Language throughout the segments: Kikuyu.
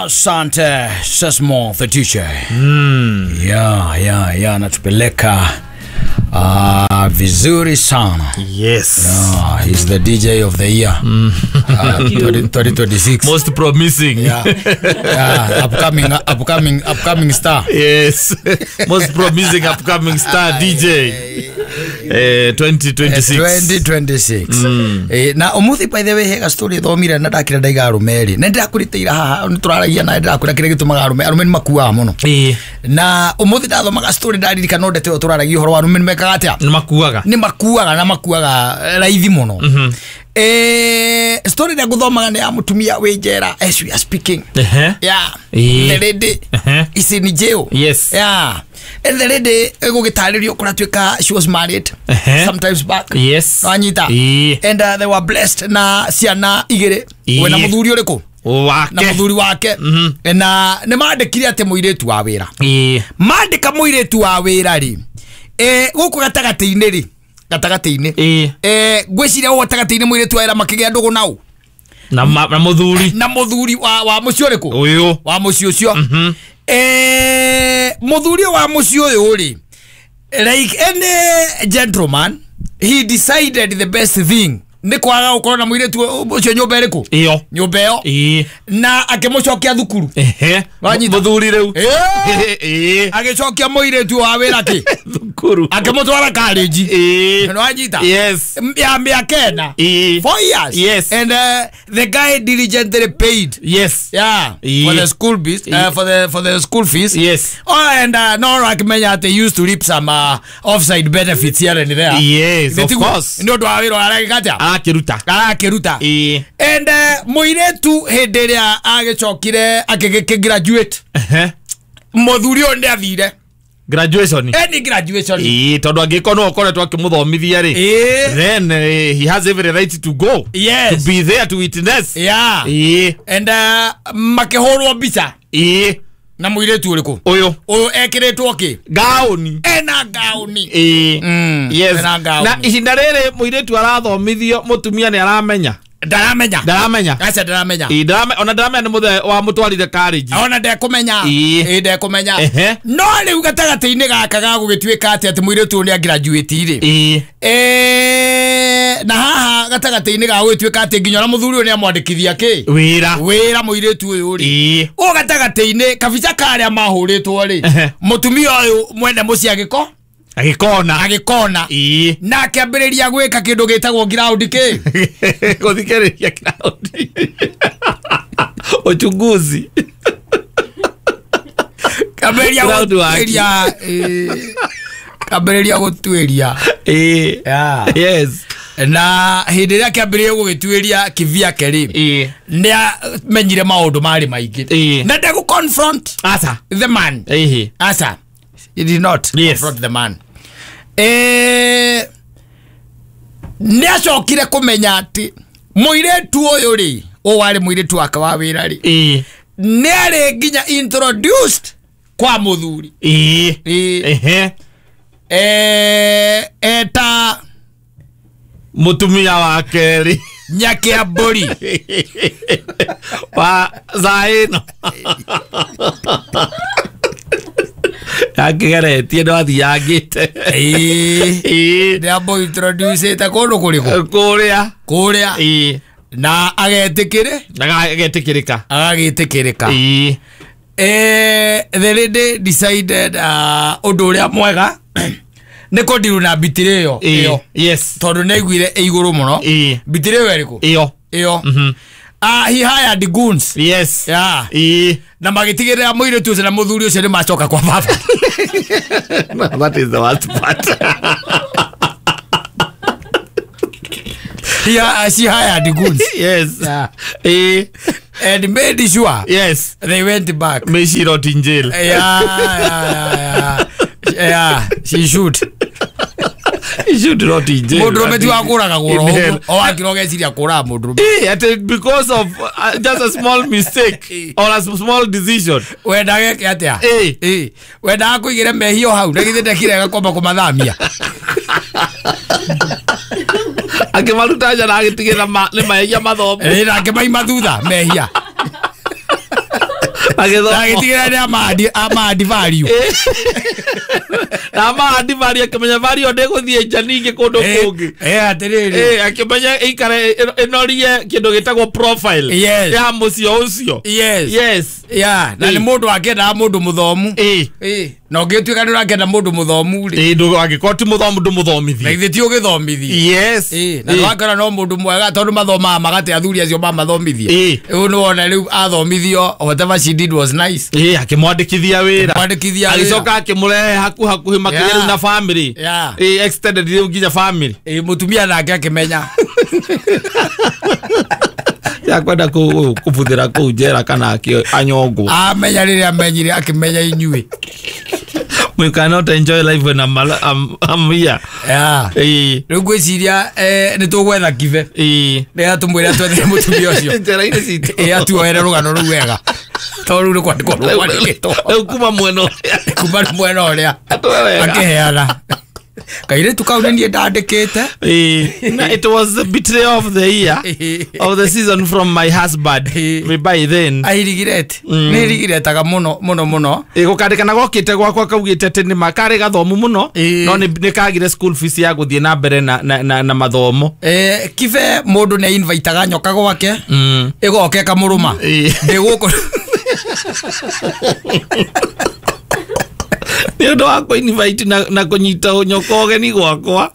Asante Sesmo the DJ. Yeah, natupeleka vizuri sana. Yes. Yeah, he's the DJ of the year. 2026. Most promising. Yeah. Yeah, upcoming star. Yes. Most promising upcoming star DJ. 2026. 2026. Na umuthi by the way hega story thomire na ndakira ndaiga arume ri. Na ndirakuriteira haha nturaragia na ndirakura kire gitumaga arume arume ni makuaga muno. Na umuthi ndathomaga story ndaririkana ndete yo turaragia uhoro wa arume ni mekaga atia? Ni makuaga. Ni makuaga na makuaga raithi muno. Story ndia guthomaga ni ya mutumia wi njera as we are speaking. Yeah. The lady is in jail. Yes. Yeah. And the lady egugitaririo kuratuika she was married sometimes back. Yes. Wanyita. And they were blessed na ciana igiri. We na muthuri uriku? Wake. Na muthuri wake. Na ni mandikire ati muiritu wa wira. Mandika muiritu wa wira ri. Guku gatagati-ini ri. Gatagati-ini. Ngwiciria ũguo gatagati-inĩ mũirĩtu wa wĩra makĩgĩa ndũgũ nau. Na mũthuri. Na mũthuri wa mũciĩ ũrĩkũ? Ũyũ. Wa mũciĩ ũcio. Mũthuri wa mũciĩ ũyũ rĩ, like any gentleman, he decided the best thing nĩ kwaga gũkorwo na mũirĩtu ũcio nyũmba ĩrĩkũ? Ĩyo. Nyũmba ĩyo. Na akĩmũcokia thukuru. Wanyita. Mũthuri rĩu. Agĩcokia mũirĩtu wa wĩra kĩ? Thukuru. Akĩmũtwara college. Wanyita. Yes. Ya mĩaka ĩna. 4 years. Yes. And the guy diligently paid. Yes. Yeah. For the school fees. For the school fees. Yes. Oh, and no akĩmenya atĩ used to reap some offside benefits here and there. Yes, of course. Nĩ ũndũ wa wĩra aragĩka atĩa? Arakiruta. Arakiruta. And muiretu hĩndĩ ĩrĩa agĩcokire akĩgraduate. Mũthuri ũyũ nĩ athire graduation. Any graduation. Tondu angĩkorwo no ũkoretwo akĩmũthomithia rĩ, then he has every right to go. Yes. To be there to witness. Yeah. And makĩhũrwo mbica. Na muiretu uriku? Uyu. Uyu ekiritwo ki? Gauni. Ena gauni. Yes. Ena gauni. Na ihinda riri muiretu arathomithio mutumia ni aramenya. Ndaramenya. Ndaramenya. Acha ndaramenya. Ona ndaramenya ni muthe wa mutwarire college. Ona ndekumenya. Ndekumenya. No riu gatagati-inĩ gaka ga gũgĩtuĩka atĩ atĩ mũirĩtu ũyũ nĩ graduate rĩ. Na haha gatagati-inĩ ga gũgĩtuĩka atĩ nginya ona mũthuri ũyũ nĩ amwandĩkithia kĩ? Wĩra. Wĩra mũirĩtu ũyũ rĩ. Ũũ gatagati-inĩ kabica karĩa mahũrĩtwo rĩ. Mũtumia ũyũ mwene mũciĩ agĩko? Agikona. Agikona. Na akĩambĩrĩria gwĩka kĩndũ gĩtagwo ground kĩ? Gũthikĩrĩria ground. Uchunguzi. Kambĩrĩria gũtuĩria. Kambĩrĩria gũtuĩria. Yes. Na hĩndĩ ĩrĩa akĩambĩrĩria gũgĩtuĩria kivyake rĩ, nĩ amenyire maũndũ marĩ maingĩ. Na ndegũ confront Asa. the man. Asa. He did not confront the man. Nĩ acokire kũmenya atĩ mũirĩtu ũyũ rĩ, ũyũ warĩ mũirĩtu wake wa wĩra rĩ, nĩ arĩ nginya introduced kwa mũthuri. Eta mũtumia wa kerĩ Nyakia mbũri wa thaa ĩno akigeretie no athiangite. Nĩ ambo introduce ta kũndũ kũrĩkũ? Kũrĩa. Kũrĩa. Na agetĩkĩrĩ? Agetĩkĩrĩka. Agagĩtĩkĩrĩka. The lady decided ũndũ ũrĩa mwega nĩ kũndiru na mbitĩrĩ ĩyo. Yes. Tondũ nĩ aiguire ĩ igũrũ mũno. Mbitĩrĩ ĩyo ĩrĩkũ? Ĩyo. Ĩyo. He hired goons. Yes. Yeah. Na magĩtigĩrĩra mũirĩtu ũcio na mũthuri ũcio nĩ macoka kwa baba. No, that is the worst part. She hired goons. Yes. Yeah. And made sure. Yes. They went back. May she rot in jail. Yeah. Yeah, she should. He should rot in jail. Mũndũrũme ti wa kũragagwo oro o wakĩra ũgeciria kũraga mũndũrũme. Ati because of just a small mistake or a small decision. Wendaga eke atĩa? Wendaga kũigĩre mehia o hau na githĩ ndekire gakomba kũmathamia. Akĩmaruta nja na agĩtigĩra nĩ mehia mathomo. Na akĩmaima thutha mehia. Agĩtigĩra nĩ ama value. Na ama value akĩmenya value ndĩgũthiĩ nja ningĩ kũndũ kũngĩ. Atĩrĩrĩ. Akĩmenya ikare ĩnorie kĩndũ gĩtagwo profile. Yes. Ya mũciĩ ũcio. Yes. Yes. Yeah, na nĩ mũndũ akĩendaga mũndũ mũthomu. Na ũngĩtuĩka nĩ ũrakĩenda mũndũ mũthomu rĩ. Angĩkorwo ti mũthomu ndũmũthomithie. Na githĩ ti ũgĩthomithie. Yes. Na nĩwakora no mũndũ mwega tondũ mathomaga magate athuri acio mamathomithie. Rĩu nĩwona rĩu athomithio whatever she did was nice. Akĩmwandĩkithia wĩra. Agĩcoka akĩmũrehe hakuhakuhĩ makĩria rĩu na family. Extended rĩu nginya family. Mũtumia nake akĩmenya. Ya kwenda kũbuthĩra kũu njera kana anyongwo. Amenya rĩrĩa amenyire akĩmenya inyuĩ. We cannot enjoy life when I'm here. Yeah. Rĩu ngwĩciria nĩ tũgwetha Kibe. Nĩgetha tũmwĩre atwethere mũtumia ũcio. Njera-inĩ citũ. Atuoere rũgano rũu wega. Tondũ rĩu nĩ kwandĩkwo rwandĩkĩtwo. Rĩu kuma mwena ũrĩa. Kuma mwena ũrĩa. Akĩheana. Kairĩtu kau nĩ niĩ ndandĩkĩte. It was the betrayal of the year of the season from my husband. By then. I regret. Nĩ regretega mũno mũno mũno. Gũkandĩka na gokĩte gwakwa kaugĩte atĩ nĩ karĩ gathomu mũno no nĩ kagire school fees ya gũthiĩ na mbere na mathomo. Kibe mũndũ nĩ invitaga nyoka gwake ĩgoka ĩkamũrũma. Ndĩ gũkũ. Nĩ ũndũ wa kũ-invite na kũnyita nyoka ũgeni gwakwa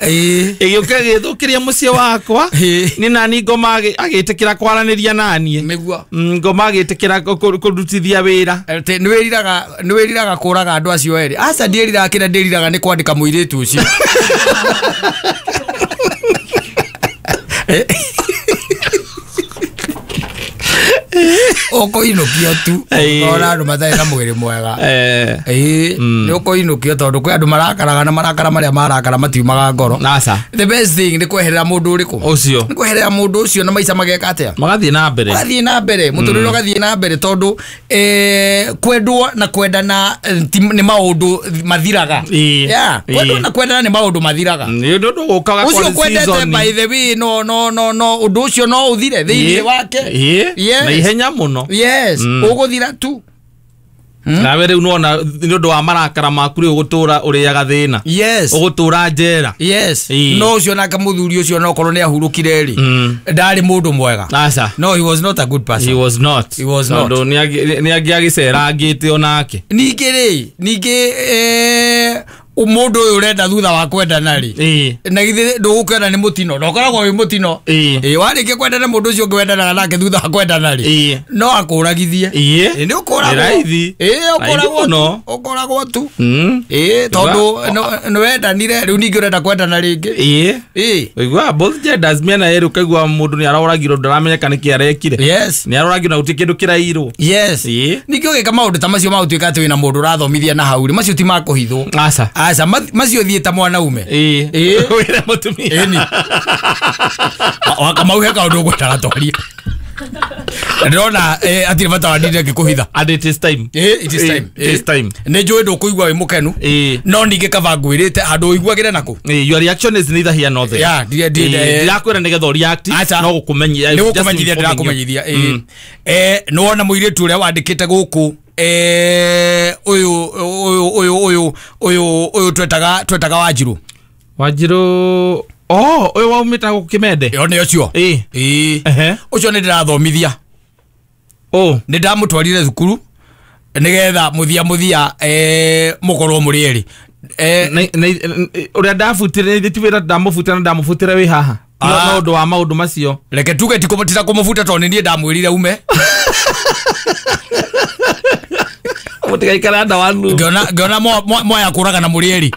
ĩgĩũka ĩgĩthũkĩria mũciĩ wakwa nĩ nani ngoma agĩtĩkĩra kwaranĩria naniĩ. Nĩguo. Ngoma agĩtĩkĩra kũrutithia wĩra. Nĩ wĩriraga kũraga andũ acio erĩ. Aca ndiĩriraga kĩrĩa ndĩriraga nĩ kwandĩka mũirĩtu ũcio. Ũkũinũkio tu ũkona andũ matarĩ na mwĩrĩ mwega. Nĩ ũkũinũkio tondũ kwĩ andũ marakaraga na marakara marĩa marakara matiumaga ngoro. The best thing nĩ kweherera mũndũ ũrĩkũ ũcio. Nĩ kweherera mũndũ ũcio na maica mageka atĩa? Magathiĩ na mbere. Magathiĩ na mbere mũtũrĩre ũgathiĩ na mbere tondũ kwendwo na kwendana nĩ maũndũ mathiraga. Kwendwo na kwendana nĩ maũndũ mathiraga. Nĩ ũndũ ũkaga kwa ũcio kwendete by the way no no no no ũndũ ũcio no ũthire thĩinĩ wake. Na ihenya mũno. Yes, ũgũthira tu. Nawe rĩu nĩwona nĩ ũndũ wa marakara maku rĩu ũgũtũra ũrĩaga thĩna. Yes. Ũgũtũra njera. Yes. No ũcio nake mũthuri ũcio no korwo nĩ ahurũkire rĩ. Ndarĩ mũndũ mwega. Aca. No, he was not a good person. He was not. He was not. Tondũ nĩ angĩagĩcerangĩte onake. Ningĩ rĩ, ningĩ mũndũ ũyũ ũrenda thutha wa kwendana rĩ na githĩ ndũgũkwenda nĩ mũtino na ũkoragwo wĩ mũtino. Warĩkia kwendana mũndũ ũcio ũngĩ wendanaga nake thutha wa kwendana rĩ no akũragithie. Nĩ ũkũragwo. Ũkũragwo tu. Tondũ nĩ wendanire rĩu ningĩ ũrenda kwendana rĩngĩ. Ũiguaga both genders mĩena yerĩ ũkaigua mũndũ nĩ aroragirwo ndaramenyeka nĩkĩ arekire. Yes. Nĩ aroragirwo na gũtirĩ kĩndũ kĩrairwo. Yes. Ningĩ ũgĩka maũndũ ta macio ma gũtuĩka atĩ wĩna mũndũ ũrathomithia na hau rĩ macio ti ma kũhithwo. Aca. Aca macio thiĩ ta mwanaume. Wĩre mũtumia. Ĩni. Wakamau he kaũndũ ũgwendaga twarie. Ndĩrona hatirĩ bata wa ndinde ngĩkũhitha. And it is time. It is time. It is time. Nĩ njũĩ ndũkũigua wĩ mũkenu. No ningĩ kaba ngwĩrĩte handũ ũiguagĩre nakũ. Your reaction is neither here nor there. Yeah, ndirakwĩra nĩgetha ũreact no gũkũmenyithia. Nĩ gũkũmenyithia ndĩrakũmenyithia. Nĩwona mũirĩtu ũrĩa wandĩkĩte gũkũ ũyũ ũyũ ũyũ ũyũ ũyũ twetaga Wanjirũ. Wanjirũ. Oh, ũyũ waumĩte gũkũ Kĩmende. Ĩyo nĩ ũcio. Ũcio nĩ ndĩrathomithia. Nĩ ndamũtwarire thukuru nĩgetha mũthia mũthia mũkorwo mũrĩ erĩ. Ũrĩa ndabutire ti wĩra ndamũbutire na ndamũbutire wĩ haha. No ũndũ wa maũndũ macio. Reke tuge ti kũmũbuta tondũ nĩ niĩ ndamwĩrire ume. Mũtigaikare nda wanu. Ngĩona moya kũraga na mũrĩ erĩ.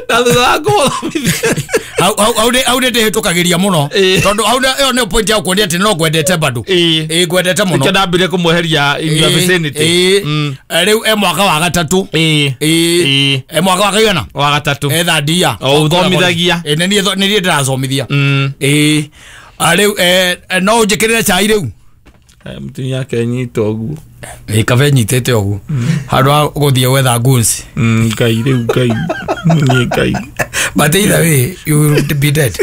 Na thutha wa kũmũthomithia. Hau nĩ ndĩhĩtũkagĩria mũno tondũ hau ĩyo nĩyo point ya kuonia atĩ no ngwendete bado. Ngwendete mũno. Nĩkĩo ndambire kũmweheria in your vicinity. Rĩu e mwaka wa gatatũ. E mwaka wa kaigana? Wa gatatũ. E third year. O ũthomithagia. Nĩ niĩ ndĩrathomithia. Rĩu no ũnjĩkĩrĩre cai rĩu. Mũtumia ake nyita ũguo. Kabe nyitĩte ũguo. Handũ ha gũthiĩ gwetha goons. Ngai rĩu Ngai. Niĩ Ngai. But either way you will be dead.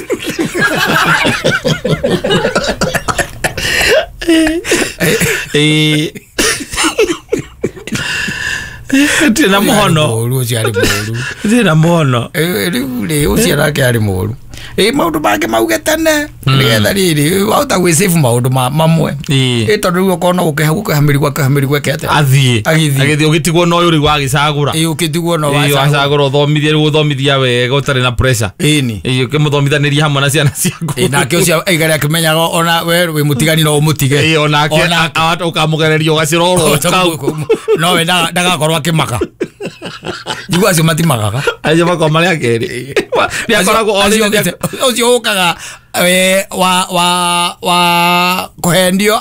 Tina muhono. Ũcio arĩ mũru. Tina muhono. Rĩu rĩ ũcio nake arĩ mũru. Maũndũ mangĩ mauge tene nĩgetha rĩrĩ wahota gwĩsave maũndũ mamwe. Tondũ rĩu okorwo no gũkĩha mĩrigo akĩha mĩrigo eke atĩa? Athiĩ. Agĩthiĩ ũgĩtigwo na ũyũ rĩu wagĩcagũra. Ũgĩtigwo na wacagũra ũthomithie rĩu ũthomithia wega ũtarĩ na pressure. Ĩni. Ũkĩmũthomithanĩria hamwe na ciana ciaku. Nake ũcio aigare akĩmenyaga ona we wĩ mũtigani no ũmũtige. Onake ũkamũgereria ũgacĩra oro kau. No we ndagakorwo akĩmaka. Njigua acio matimagaga. Acio makoragwo marĩ a kerĩ. Nĩakoragwo ũcio ũkaga wa kũhendio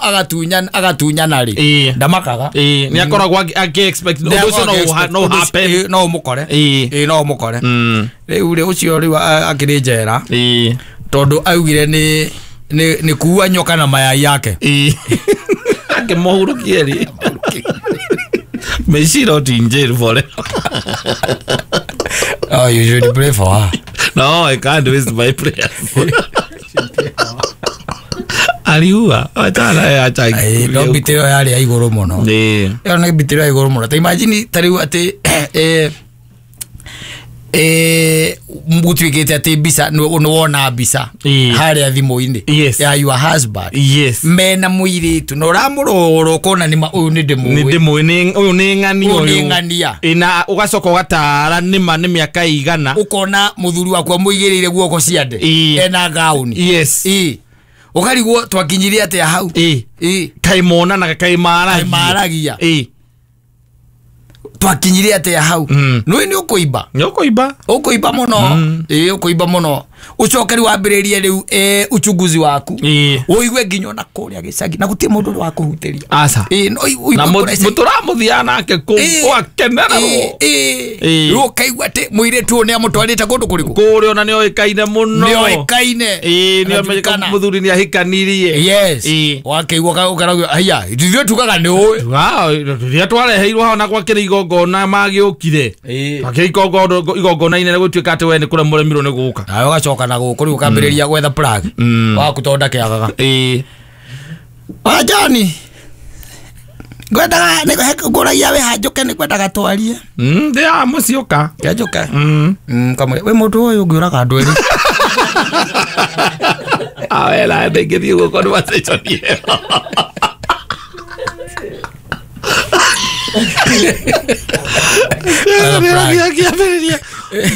agatunyana rĩ ndamakaga. Nĩakoragwo akĩ-expect ũndũ ũcio no happen. No ũmũkore. No ũmũkore. Rĩu rĩ ũcio rĩu akĩrĩ njera tondũ augire nĩ kuua nyoka na mayai yake. Akĩmũhurũkie rĩ. May she not in jail forever. Oh, you should pray for her. No, I can't waste my prayers. Aliua. Acha acha. No bitero yari ya igũrũ mũno. Ĩyo nĩ bitero ya igũrũ mũno. Ta imagine ta rĩu atĩ gũtuĩkĩte atĩ mbica nĩ wona mbica harĩa thimũ-inĩ ya your husband. Yes. Mena mũirĩtu na ũramũrora ũkona nĩ ũyũ nĩ ndĩmũĩ. Nĩ ndĩmũĩ ũyũ nĩ ng'ania ũyũ. Nĩ ng'ania. Na ũgacoka ũgatara nĩma nĩ mĩaka igana. Ũkona mũthuri waku amũigĩrĩire guoko ciande. Ena gauni. Yes. Ũkarigwo twakinyirie atĩa hau. Kaĩ monanaga kaĩ maaragia. Twakinyirie atĩa hau. Nĩ nĩ ũkũimba. Nĩ ũkũimba. Ũkũimba mũno. Ũkũimba mũno. Ũcoke rĩu wambĩrĩrie rĩu uchunguzi waku. Ũigue nginya ona kũrĩa gĩcagi na gũtirĩ mũndũ wa kũhutĩria. Aca. Na mũtũramũthiaga nake kũu ũgakenererwo. Rĩu ũkaigua atĩ mũirĩtu ũyũ nĩ amũtwarĩte kũndũ kũrĩkũ? Kũrĩa ona nĩ oĩkaine mũno. Nĩ oĩkaine. Nĩ oĩkaine mũthuri nĩ ahikanirie. Yes. Wakĩigua ũkarauga haiya ithuĩ tugaga nĩ ũĩ. Rĩrĩa twareheirwo hau na gwakĩrĩ igongona magĩũkire. Twakĩrĩ igongona inene gũtuĩka atĩ we nĩ kũrĩa mũremirwo nĩ gũka. Nawe ũgacoka na gũkũ rĩu ũkambĩrĩria gwetha plug waku tondũ ndakĩagaga. Wajani ngwendaga ngũragia wĩ hanjũke nĩ ngwendaga twarie. Ndĩ haha mũciĩ ũka. Kĩanjũke. Kamwe wĩ mũndũ ũyũ ũngĩũraga andũ erĩ. Awela ndingĩthiĩ ũguo conversation ĩyo.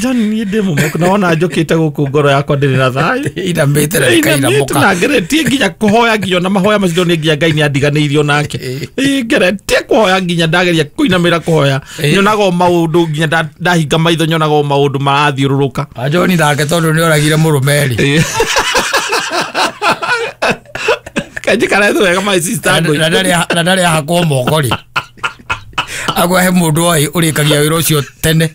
John niĩ ndĩ mũmoku na wona njũkĩte gũkũ ngoro yakwa ndĩrĩ na thayũ. Inamĩte na ĩkainamũka. Na ngeretie nginya kũhoya nginya na mahoya macio nĩ nginya Ngai nĩ andiganĩirio nake. Ngeretie kũhoya nginya ndageria kũinamĩra kũhoya. Nyonaga o maũndũ nginya ndahinga maitho nyonaga o maũndũ marathiũrũrũka. John nake tondũ nĩ oragire mũrũme rĩ. Kanjikara thĩ wega my sister. Na ndarĩ ahakwo moko rĩ. Agwa he mũndũ oĩ ũrĩkagia wĩra ũcio tene.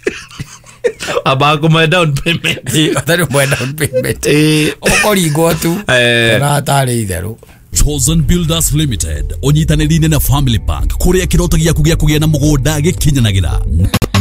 Aba kũmwe down payment. Atarĩ mwe down payment. Ũkũringwo tu. Na atarĩ itherũ. Chosen Builders Limited ũnyitanĩri-inĩ na Family Bank kũrĩa kĩroto gĩaku gĩa kũgĩa na mũgũnda gĩkinyanagĩra.